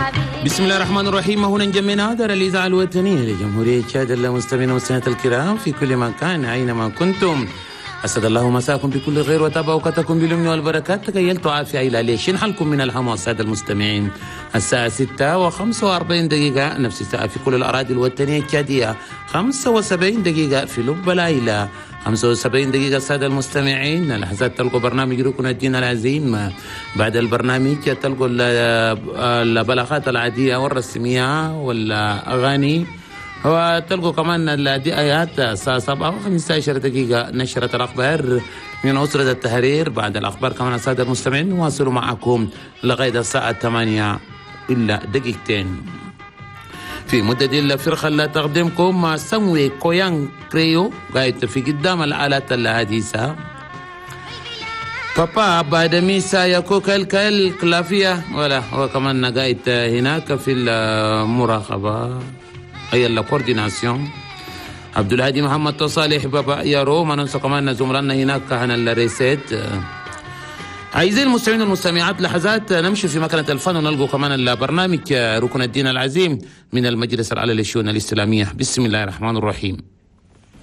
حبيبي. بسم الله الرحمن الرحيم. هنا جمعنا دار الإذاعة الوطنية لجمهورية تشاد. المستمعين والمستمعات الكرام في كل مكان أينما كنتم، أسعد الله مساكم بكل خير وتابع أوقاتكم باليمن والبركات. تخيلتوا عافية إلى ليش حالكم من الهم السادة المستمعين. الساعة 6:45، نفس الساعة في كل الأراضي الوطنية التشادية، 75 دقيقة في لب العيلة، 75 دقيقة. السادة المستمعين لحظات تلقوا برنامج ركن الدين العظيم. بعد البرنامج تلقوا البلاغات العادية والرسمية والأغاني، وتلقوا كمان الآيات. الساعة 7:15 نشرة الأخبار من أسرة التحرير. بعد الأخبار كمان السادة المستمعين نواصل معكم لغاية الساعة 7:58. في مدة الفرقة اللي تقدمكم مع سموي كويان كريو قاعد في قدام الآلات الحديثة. بابا بعد ميسا يكو كل كلافية ولا هو كمان قاعد هناك في المراقبة أي ال coordination. عبد الهادي محمد صالح بابا يارو. ما ننسى كمان زملائنا هناك عن الريسيت. عايزين المستمعين والمستمعات لحظات نمشي في مكنة الفن ونلقوا كمان البرنامج ركن الدين العظيم من المجلس الأعلى للشؤون الإسلامية. بسم الله الرحمن الرحيم.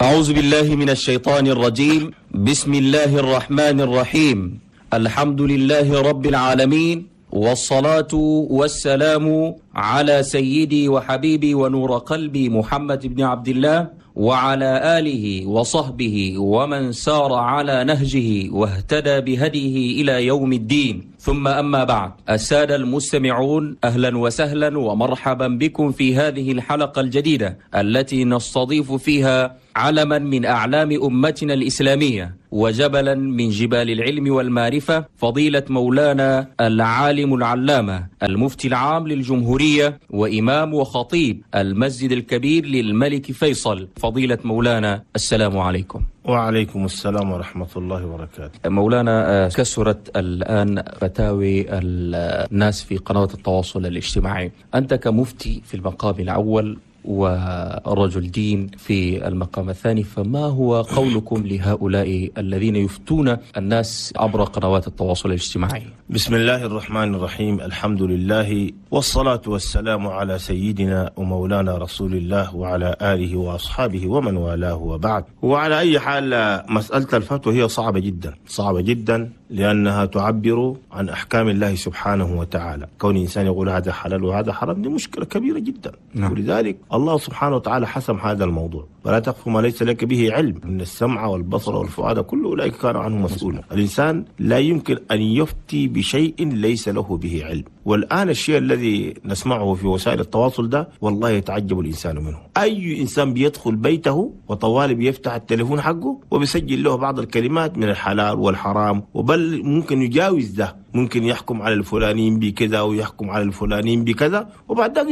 أعوذ بالله من الشيطان الرجيم. بسم الله الرحمن الرحيم. الحمد لله رب العالمين، والصلاة والسلام على سيدي وحبيبي ونور قلبي محمد بن عبد الله، وعلى آله وصحبه ومن سار على نهجه واهتدى بهديه إلى يوم الدين. ثم أما بعد، السادة المستمعون، أهلا وسهلا ومرحبا بكم في هذه الحلقة الجديدة التي نستضيف فيها علما من أعلام أمتنا الإسلامية وجبلا من جبال العلم والمعرفة، فضيلة مولانا العالم العلامة المفتي العام للجمهورية وإمام وخطيب المسجد الكبير للملك فيصل. فضيلة مولانا، السلام عليكم. وعليكم السلام ورحمة الله وبركاته. مولانا، كثرت الآن فتاوي الناس في قنوات التواصل الاجتماعي. أنت كمفتي في المقام الأول ورجل دين في المقام الثاني، فما هو قولكم لهؤلاء الذين يفتون الناس عبر قنوات التواصل الاجتماعي؟ بسم الله الرحمن الرحيم. الحمد لله والصلاة والسلام على سيدنا ومولانا رسول الله وعلى آله وأصحابه ومن والاه، وبعد. وعلى أي حال، مسألة الفتوى هي صعبة جدا، صعبة جدا، لأنها تعبر عن أحكام الله سبحانه وتعالى. كون إنسان يقول هذا حلال وهذا حرام دي مشكلة كبيرة جدا. نعم. ولذلك الله سبحانه وتعالى حسم هذا الموضوع: ولا تقف ما ليس لك به علم، إن السمع والبصر والفؤاد كل أولئك كانوا عنه مسؤولا. الإنسان لا يمكن أن يفتي بشيء ليس له به علم. والآن الشيء الذي نسمعه في وسائل التواصل ده والله يتعجب الإنسان منه. أي إنسان بيدخل بيته وطوالي بيفتح التليفون حقه وبيسجل له بعض الكلمات من الحلال والحرام، وبل ممكن يجاوز ده، ممكن يحكم على الفلانيين بكذا ويحكم على الفلانيين بكذا، وبعد ذلك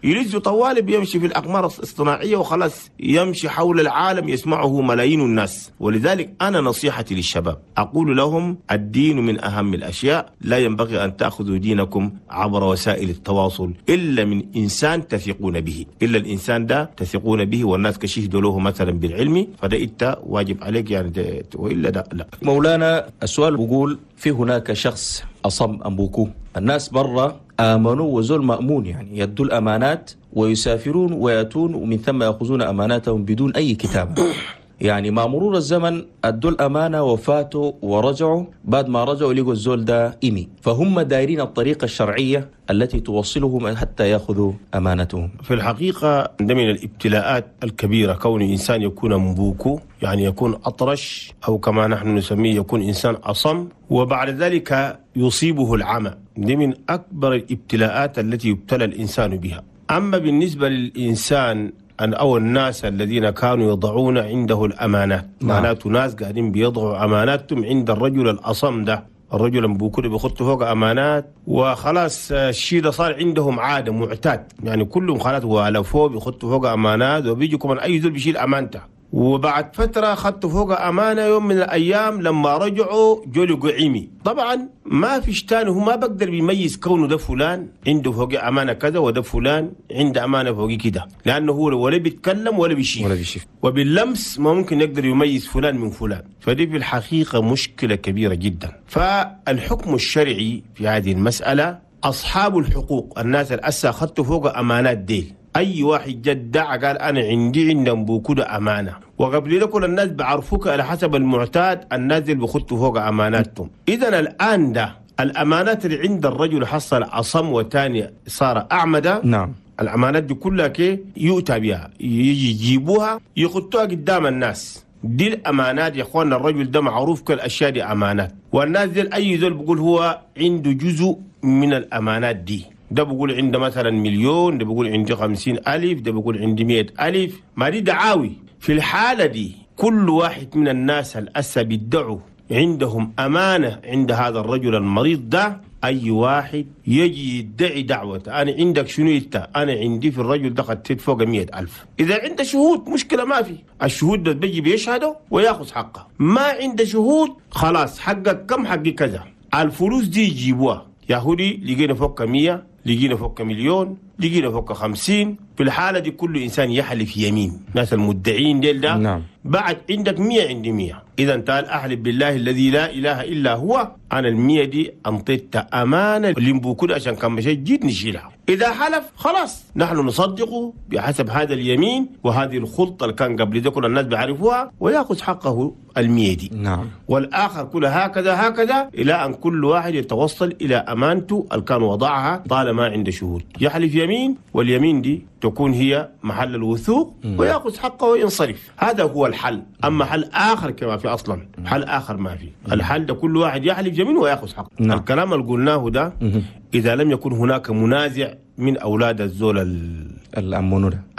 يلزه طوالي بيمشي في الأقمار الاصطناعية وخلاص يمشي حول العالم يسمعه ملايين الناس. ولذلك أنا نصيحتي للشباب أقول لهم: الدين من أهم الأشياء، لا ينبغي أن تأخذوا دينكم عبر وسائل التواصل إلا من إنسان تثقون به، إلا الإنسان ده تثقون به والناس كشهدوا له مثلا بالعلم، فده إنت واجب عليك يعني، وإلا ده لا. مولانا، السؤال بقول: في هناك شخص أصم أنبوكو، الناس برا آمنوا وزول مأمون، يعني يدوا الأمانات ويسافرون ويأتون ومن ثم يأخذون أماناتهم بدون أي كتابة. يعني مع مرور الزمن أدوا الأمانة وفاتوا ورجعوا، بعد ما رجعوا لقوا الزول ده إيمي، فهم دايرين الطريقة الشرعية التي توصلهم حتى يأخذوا أمانتهم. في الحقيقة ده من الابتلاءات الكبيرة، كون إنسان يكون مبوكو، يعني يكون أطرش، أو كما نحن نسميه يكون إنسان أصم، وبعد ذلك يصيبه العمى. دي من أكبر الابتلاءات التي يبتلى الإنسان بها. أما بالنسبة للإنسان أو الناس الذين كانوا يضعون عنده الأمانات، معناته ناس قاعدين بيضعوا أماناتهم عند الرجل الأصم ده، الرجل بوكل بيخط فوق أمانات وخلاص، الشيء ده صار عندهم عادة معتاد، يعني كلهم خلاص والفوه بيخطوا فوق أمانات، وبيجوا كمان أي زول بيشيل أمانته. وبعد فترة خدت فوق أمانة يوم من الأيام لما رجعوا جولوا قعيمي. طبعا ما فيش تاني، هو ما بقدر بيميز كونه ده فلان عنده فوق أمانة كذا وده فلان عنده أمانة فوق كده، لأنه هو ولا بيتكلم ولا بيشيف، وباللمس ما ممكن يقدر يميز فلان من فلان. فدي في الحقيقة مشكلة كبيرة جدا. فالحكم الشرعي في هذه المسألة أصحاب الحقوق الناس الأسا خدتوا فوق أمانات ديل، أي واحد جدع قال أنا عندي عندهم بوكودة أمانة، وقبل ده كل الناس بعرفوك على حسب المعتاد الناس اللي بخدتوا فوق أماناتهم. إذن الآن ده الأمانات اللي عند الرجل حصل أصم وتاني صار أعمدة. نعم. الأمانات دي كلها كي يؤتى بها، يجي يجيبوها يخطوها قدام الناس. دي الأمانات يا أخواننا، الرجل ده معروف كل الأشياء دي أمانات، والناس دي أي زول بيقول هو عنده جزء من الأمانات دي، ده بيقول عنده مثلا مليون، ده بيقول عنده 50,000، ده بيقول عنده 100,000، ما دي دعاوي. في الحالة دي كل واحد من الناس الأسى بيدعوا عندهم أمانة عند هذا الرجل المريض ده، أي واحد يجي يدعي دعوة أنا عندك شنو إنت، أنا عندي في الرجل ده خدت فوق 100,000. إذا عنده شهود مشكلة ما في، الشهود ده بيجي بيشهدوا وياخذ حقه. ما عنده شهود خلاص حقك كم، حقي كذا، الفلوس دي يجيبوها. يهودي لقينا فوق 100، لقينا فوق مليون، لقينا فوق 50. في الحالة دي كل إنسان يحلف يمين، ناس المدعين ديل ده. نعم. بعد عندك 100 عندي 100، إذا تعال أحلف بالله الذي لا إله إلا هو أنا 100 دي أنطيت أمانة لمبوكود عشان كان مشيت جيت نشيلها. إذا حلف خلاص نحن نصدقه بحسب هذا اليمين وهذه الخلطة اللي كان قبل ده كل الناس بيعرفوها، ويأخذ حقه 100 دي. نعم. والآخر كل هكذا هكذا إلى أن كل واحد يتوصل إلى أمانته اللي كان وضعها طالما عنده شهود. يحلف يمين، واليمين دي تكون هي محل الوثوق ويأخذ حقه وينصرف. هذا هو الحل. أما حل آخر كما في أصلا حل آخر ما في. الحل ده كل واحد يحلف يمين ويأخذ حقه. نعم. الكلام اللي قلناه ده إذا لم يكن هناك منازع من أولاد الزول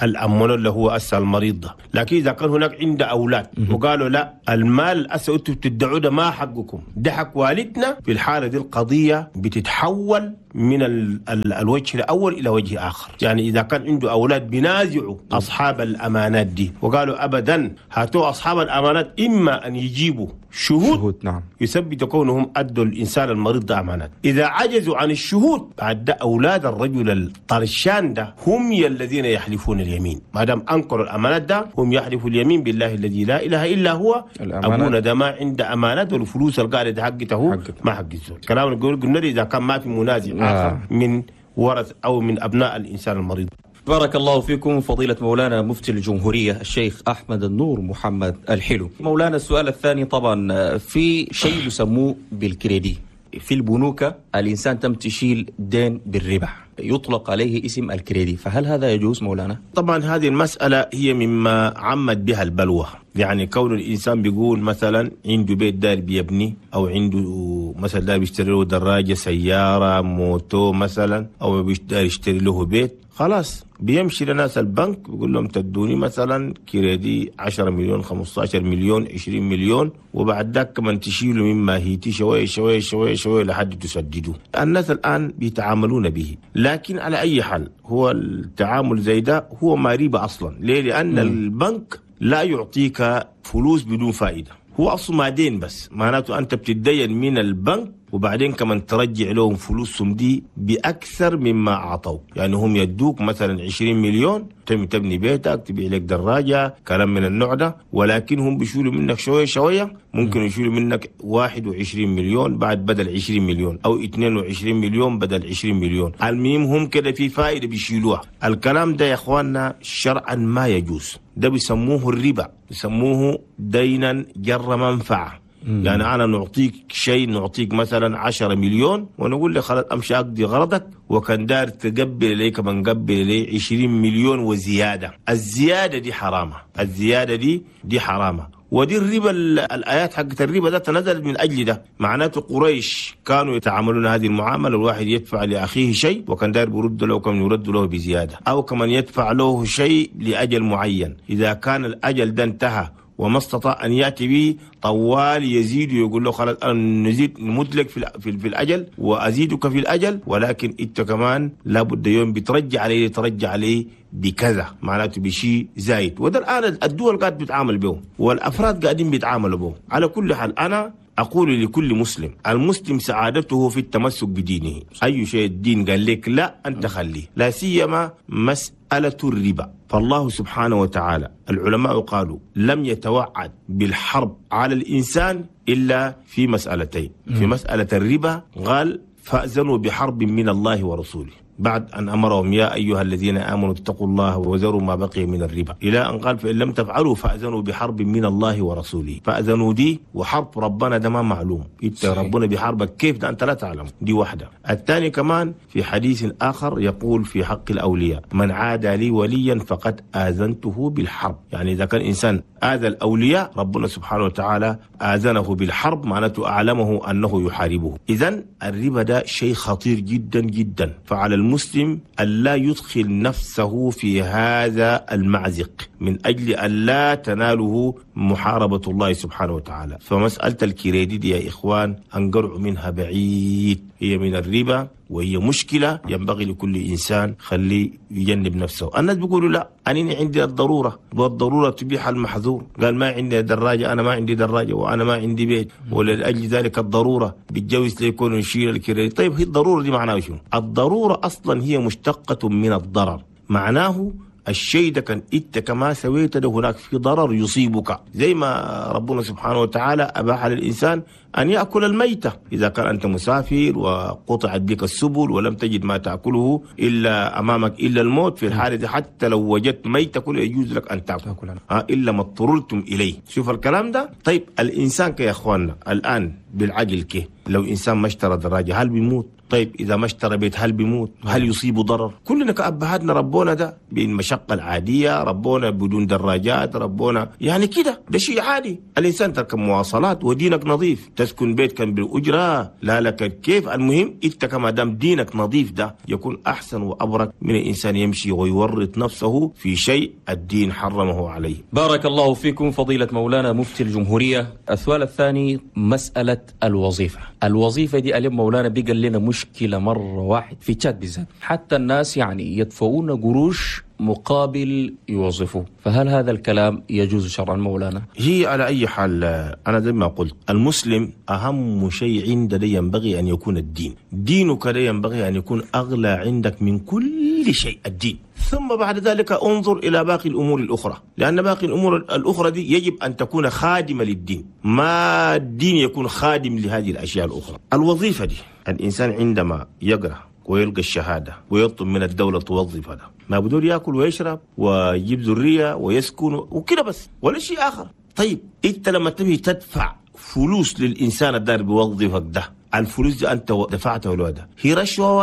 الأمونور اللي هو أسى المريض ده، لكن إذا كان هناك عند أولاد وقالوا لا المال أسى أنتوا بتدعوا ده ما حقكم، ده حق والدنا، في الحالة دي القضية بتتحول من الوجه الأول إلى وجه آخر. يعني إذا كان عنده أولاد بينازعوا أصحاب الأمانات دي وقالوا أبدا هاتوا أصحاب الأمانات، إما أن يجيبوا شهود نعم. يثبت كونهم أدوا الإنسان المريض ده أمانات. إذا عجزوا عن الشهود بعد أولاد الرجل الطرشان ده هم الذين يحلفون اليمين، ما دام أنكروا الأمانات ده هم يحلفوا اليمين بالله الذي لا إله إلا هو، أبونا ده ما عنده أمانات والفلوس القاعدة حقته ما حق الزول. كلام قلنا إذا كان ما في منازع آخر من ورث أو من أبناء الإنسان المريض. بارك الله فيكم فضيلة مولانا مفتي الجمهورية الشيخ أحمد النور محمد الحلو. مولانا السؤال الثاني، طبعا في شيء يسموه بالكريدي في البنوك، الإنسان تم تشيل دين بالربا يطلق عليه اسم الكريدي، فهل هذا يجوز مولانا؟ طبعا هذه المسألة هي مما عمت بها البلوى، يعني كون الإنسان بيقول مثلا عنده بيت دار بيبني، أو عنده مثلا دار بيشتري له دراجة، سيارة، موتو مثلا، أو دار يشتري له بيت، خلاص بيمشي لناس البنك بيقول لهم تدوني مثلا كريدي 10 مليون، 15 مليون، 20 مليون، وبعد ذاك كمان تشيلوا مما هيتي شوية شوية شوية شوية لحد تسددوه. الناس الآن بيتعاملون به، لكن على أي حال هو التعامل زي ده هو ما ريبة أصلا. ليه؟ لأن البنك لا يعطيك فلوس بدون فائدة، هو أصلا ما دين، بس معناته أنت بتتدين من البنك وبعدين كمان ترجع لهم فلوسهم دي بأكثر مما أعطوك. يعني هم يدوك مثلا 20 مليون تبني بيتك، تبيع لك دراجة، كلام من النوع ده، ولكن هم بيشيلوا منك شوية شوية، ممكن يشيلوا منك 21 مليون بعد بدل 20 مليون، أو 22 مليون بدل 20 مليون. المهم هم كده في فائدة بيشيلوها. الكلام ده يا إخواننا شرعا ما يجوز، ده بيسموه الربا، بيسموه دينا جر منفعة. يعني أنا نعطيك شيء، نعطيك مثلا 10 مليون ونقول لك خلاص أمشي أقضي غرضك، وكان دار تقبل لي كمان قبل لي 20 مليون وزيادة. الزيادة دي حرامة، الزيادة دي حرامة. ودي الربا، الآيات حقت الربا ده تنزلت من أجل ده. معناته قريش كانوا يتعاملون هذه المعاملة، الواحد يدفع لأخيه شيء وكان داير برد له كمان يرد له بزيادة، أو كمان يدفع له شيء لأجل معين، إذا كان الأجل ده انتهى وما استطاع أن يأتي به طوال يزيد ويقول له خلاص أنا نزيد نمدلك في الأجل وأزيدك في الأجل، ولكن أنت كمان لابد يوم بترجع عليه، ترجع عليه بكذا، معناته بشيء زايد. وده الآن الدول قاعد بتعامل به والأفراد قاعدين بيتعاملوا به. على كل حال أنا أقول لكل مسلم، المسلم سعادته في التمسك بدينه. أي شيء الدين قال لك لا أنت خليه، لا سيما مسألة الربا. فالله سبحانه وتعالى العلماء قالوا لم يتوعد بالحرب على الإنسان إلا في مسألتين. في مسألة الربا قال فأذنوا بحرب من الله ورسوله، بعد أن أمرهم يا أيها الذين آمنوا اتقوا الله وذروا ما بقي من الربا، إلى أن قال فإن لم تفعلوا فأذنوا بحرب من الله ورسوله. فأذنوا دي وحرب ربنا ده ما معلوم، إنت ربنا بحربك كيف ده أنت لا تعلم، دي واحدة. الثاني كمان في حديث آخر يقول في حق الأولياء من عادى لي وليا فقد آذنته بالحرب، يعني إذا كان إنسان آذى الأولياء ربنا سبحانه وتعالى آذنه بالحرب، معناته أعلمه أنه يحاربه. إذن الربا ده شيء خطير جدا جدا، فعلى المسلم ألا يدخل نفسه في هذا المعزق من أجل ألا تناله محاربة الله سبحانه وتعالى. فمسألة الكريدي دي يا إخوان أنقرع منها بعيد، هي من الربا وهي مشكلة ينبغي لكل إنسان خليه يجنب نفسه. الناس بيقولوا لا أنا عندي الضرورة والضرورة تبيح المحظور، قال ما عندي دراجة، أنا ما عندي دراجة وأنا ما عندي بيت ولأجل ذلك الضرورة بتجوز ليكون نشيل الكريدي. طيب هي الضرورة دي معناها شنو؟ الضرورة أصلا هي مشتقة من الضرر، معناه الشيء ده كان انت كما سويت ده هناك في ضرر يصيبك، زي ما ربنا سبحانه وتعالى أباح للإنسان أن يأكل الميتة إذا كان أنت مسافر وقطعت بك السبل ولم تجد ما تأكله إلا أمامك إلا الموت، في الحالة دي حتى لو وجدت ميتة كله يجوز لك أن تأكل إلا ما اضطررتم إليه. شوف الكلام ده. طيب الإنسان يا إخواننا الآن بالعقل كه لو إنسان ما اشترى دراجة هل بيموت؟ طيب إذا ما اشترى بيت هل بيموت؟ هل يصيبه ضرر؟ كلنا كأبهاتنا ربونا ده بالمشقة العادية، ربونا بدون دراجات، ربونا يعني كده، ده شيء عادي. الإنسان تركب مواصلات ودينك نظيف، تسكن بيت كان بالأجرة لا لك كيف، المهم إنت كما دام دينك نظيف ده يكون أحسن وأبرك من الإنسان يمشي ويورط نفسه في شيء الدين حرمه عليه. بارك الله فيكم فضيلة مولانا مفتي الجمهورية. السؤال الثاني مسألة الوظيفة. الوظيفة دي ألم مولانا بيقل لنا مشكلة مرة واحد في تشاد بالذات، حتى الناس يعني يدفعون قروش مقابل يوظفوه، فهل هذا الكلام يجوز شرعا مولانا؟ هي على أي حال أنا زي ما قلت المسلم أهم شيء عنده ينبغي أن يكون الدين، دينك لا ينبغي أن يكون أغلى عندك من كل شيء، الدين، ثم بعد ذلك انظر إلى باقي الأمور الأخرى، لأن باقي الأمور الأخرى دي يجب أن تكون خادمة للدين، ما الدين يكون خادم لهذه الأشياء الأخرى. الوظيفة دي الإنسان عندما يقرأ ويلقى الشهادة ويطلب من الدولة توظف هذا، ما بدور يأكل ويشرب ويجيب ذرية ويسكن وكده بس ولا شيء آخر. طيب أنت لما تبي تدفع فلوس للإنسان الدار بيوظفك ده، الفلوس دي أنت دفعتها ولا ده هي رشوة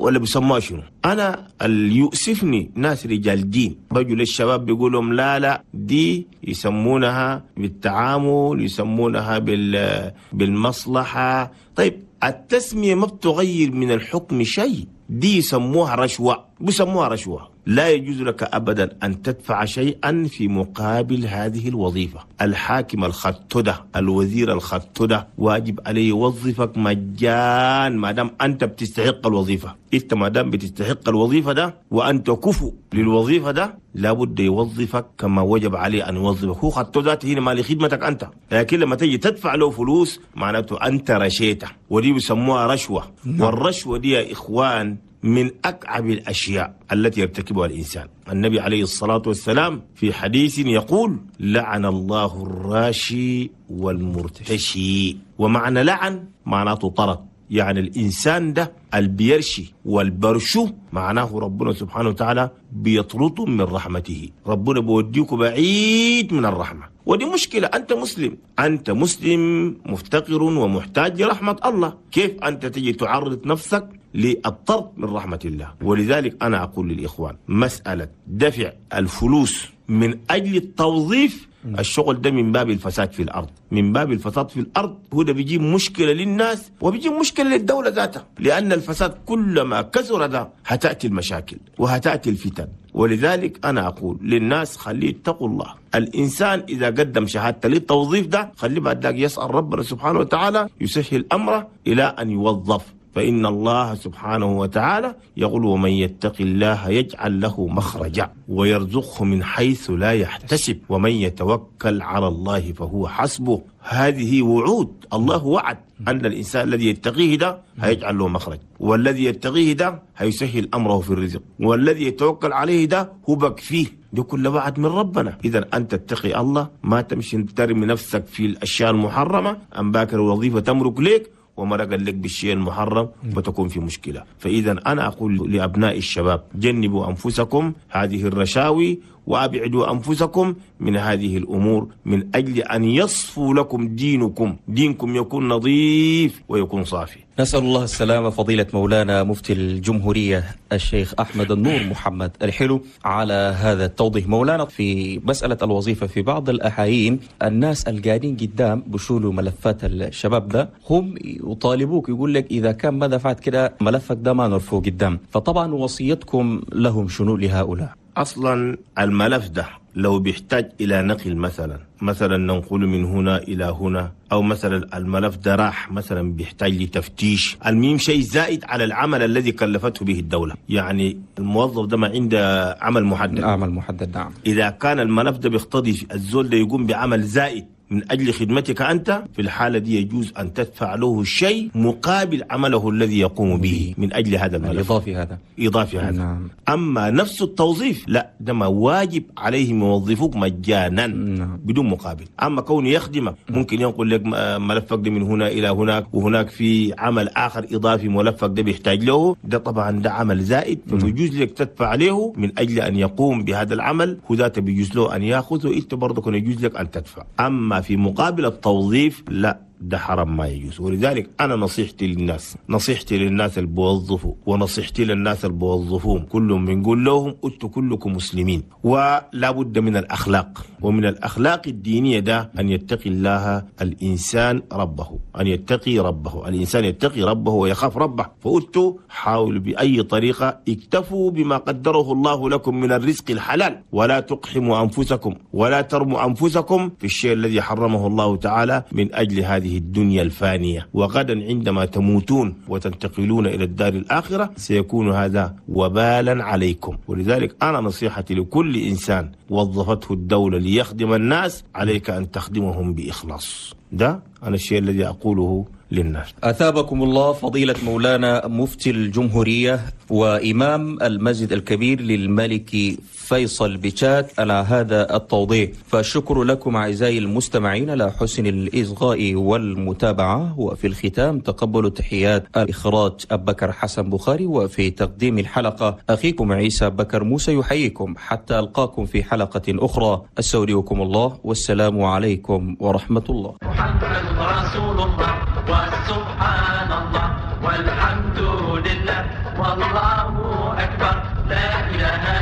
ولا بيسموها شنو؟ أنا اللي يؤسفني ناس رجال دين بيجوا للشباب بيقولوا لا دي يسمونها بالتعامل، يسمونها بالمصلحة. طيب التسمية ما بتغير من الحكم شيء، دي يسموها رشوة، بيسموها رشوة. لا يجوز لك أبدا أن تدفع شيئا في مقابل هذه الوظيفة. الحاكم الخطدة، الوزير الخطدة، واجب عليه يوظفك مجان ما دام أنت بتستحق الوظيفة. أنت ما دام بتستحق الوظيفة ده وأنت كفو للوظيفة ده لابد يوظفك كما وجب عليه أن يوظفك. هو خطه ذاته هنا ما لخدمتك أنت، لكن لما تيجي تدفع له فلوس معناته أنت رشيته، ودي بيسموها رشوة. والرشوة دي يا إخوان من أكعب الأشياء التي يرتكبها الإنسان. النبي عليه الصلاة والسلام في حديث يقول لعن الله الراشي والمرتشي، ومعنى لعن معناته طرد، يعني الإنسان ده البيرشي والبرشو معناه ربنا سبحانه وتعالى بيطرده من رحمته، ربنا بيوديك بعيد من الرحمة. ودي مشكلة، أنت مسلم، أنت مسلم مفتقر ومحتاج لرحمة الله، كيف أنت تجي تعرض نفسك للطرد من رحمة الله؟ ولذلك أنا أقول للإخوان مسألة دفع الفلوس من أجل التوظيف، الشغل ده من باب الفساد في الأرض، من باب الفساد في الأرض. هو ده بيجيب مشكلة للناس وبيجيب مشكلة للدولة ذاتها، لأن الفساد كلما كثر ده هتأتي المشاكل وهتأتي الفتن. ولذلك أنا أقول للناس خليه اتقوا الله. الإنسان إذا قدم شهادته للتوظيف ده خليه بعد ذلك يسأل ربنا سبحانه وتعالى يسهل أمره إلى أن يوظف، فإن الله سبحانه وتعالى يقول ومن يتق الله يجعل له مخرجا ويرزقه من حيث لا يحتسب ومن يتوكل على الله فهو حسبه. هذه وعود، الله وعد أن الإنسان الذي يتقيه ده هيجعل له مخرج، والذي يتقيه ده هيسهل أمره في الرزق، والذي يتوكل عليه ده هو بكفيه. دي كل وعد من ربنا. إذا أنت تتقي الله، ما تمشي ترمي نفسك في الأشياء المحرمة، أم باكر الوظيفة تمرك لك ومرق لك بالشيء المحرم وتكون في مشكلة. فإذا أنا أقول لأبناء الشباب جنبوا أنفسكم هذه الرشاوي وأبعدوا أنفسكم من هذه الأمور من أجل أن يصفوا لكم دينكم، دينكم يكون نظيف ويكون صافي. نسأل الله السلامة. فضيلة مولانا مفتي الجمهورية الشيخ أحمد النور محمد الحلو على هذا التوضيح. مولانا، في مسألة الوظيفة في بعض الأحايين الناس القاعدين قدام بشولوا ملفات الشباب ده، هم يطالبوك يقول لك إذا كان ما دفعت كده ملفك ده ما نرفوه قدام، فطبعا وصيتكم لهم شنو لهؤلاء؟ أصلا الملف ده لو بيحتاج إلى نقل مثلا ننقل من هنا إلى هنا، أو مثلا الملف ده راح مثلا بيحتاج لتفتيش، المهم شيء زائد على العمل الذي كلفته به الدولة. يعني الموظف ده ما عنده عمل محدد، عمل محدد، نعم. إذا كان الملف ده بيقتضي الزول ده يقوم بعمل زائد من أجل خدمتك أنت، في الحالة دي يجوز أن تدفع له شيء مقابل عمله الذي يقوم به من أجل هذا الملف إضافي هذا، إضافي هذا. نعم. أما نفس التوظيف لا، ده ما واجب عليهم يوظفوك مجانا. نعم. بدون مقابل. أما كونه يخدمك ممكن ينقل لك ملفك ده من هنا إلى هناك، وهناك في عمل آخر إضافي ملفك ده بيحتاج له، ده طبعا ده عمل زائد، فبيجوز لك تدفع عليه من أجل أن يقوم بهذا العمل، وذات بيجوز له أن يأخذه، أنت برضه يجوز لك أن تدفع. أما في مقابل التوظيف لا، ده حرام ما يجوز. ولذلك أنا نصيحتي للناس، نصيحتي للناس اللي بوظفوا ونصيحتي للناس اللي بوظفوهم كلهم، بنقول لهم أنتوا كلكم مسلمين، ولا بد من الأخلاق، ومن الأخلاق الدينية ده أن يتقي الله الإنسان ربه، أن يتقي ربه، الإنسان يتقي ربه ويخاف ربه. فأنتوا حاولوا بأي طريقة اكتفوا بما قدره الله لكم من الرزق الحلال، ولا تقحموا أنفسكم ولا ترموا أنفسكم في الشيء الذي حرمه الله تعالى من أجل هذه الدنيا الفانية. وغدا عندما تموتون وتنتقلون إلى الدار الآخرة سيكون هذا وبالا عليكم. ولذلك أنا نصيحتي لكل إنسان وظفته الدولة ليخدم الناس، عليك أن تخدمهم بإخلاص. ده أنا الشيء الذي أقوله للناس. أثابكم الله فضيلة مولانا مفتي الجمهورية وإمام المسجد الكبير للملك فيصل بشات على هذا التوضيح. فالشكر لكم أعزائي المستمعين على حسن الإصغاء والمتابعة. وفي الختام تقبلوا تحيات الإخراج أبكر حسن بخاري، وفي تقديم الحلقة أخيكم عيسى بكر موسى يحييكم حتى ألقاكم في حلقة أخرى. أستودعكم الله والسلام عليكم ورحمة الله. محمد رسول الله وسبحان الله والحمد لله والله أكبر لا إله